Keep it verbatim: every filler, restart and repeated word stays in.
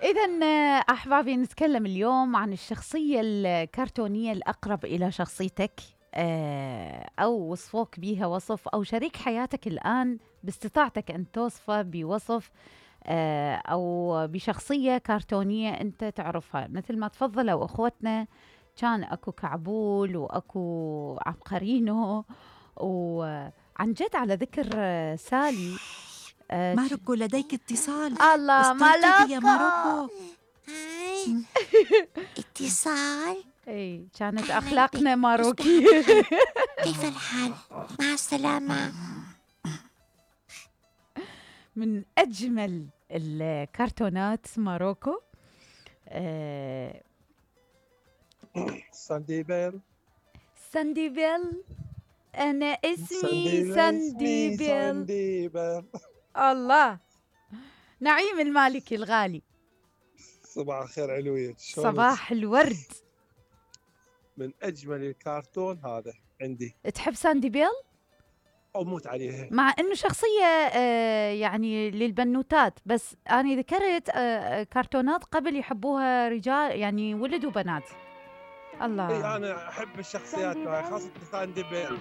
إذن أحبابي نتكلم اليوم عن الشخصية الكرتونية الأقرب إلى شخصيتك، أو وصفوك بيها وصف، أو شريك حياتك الآن باستطاعتك أن توصفه بوصف أو بشخصية كرتونية أنت تعرفها. مثل ما تفضلوا أخوتنا، كان أكو كعبول وأكو عبقرينو. وعن جد على ذكر سالي، آه ماروكو لديك اتصال. الله ماروكو يا ماروكو. اتصال. اي كانت اخلاقنا ماروكي. كيف الحال؟ مع السلامة. من اجمل الكرتونات ماروكو. آه ساندي بيل. ساندي بيل، انا اسمي ساندي ساندي بيل. ساندي بيل. الله، نعيم المالكي الغالي. صباح الخير علوية. صباح الورد. من أجمل الكرتون هذا عندي. تحب ساندي بيل؟ أموت عليها، مع إنه شخصية آه يعني للبنوتات، بس أنا ذكرت آه كرتونات قبل يحبوها رجال، يعني ولد وبنات. الله. إي أنا أحب الشخصيات خاصة ساندي بيل.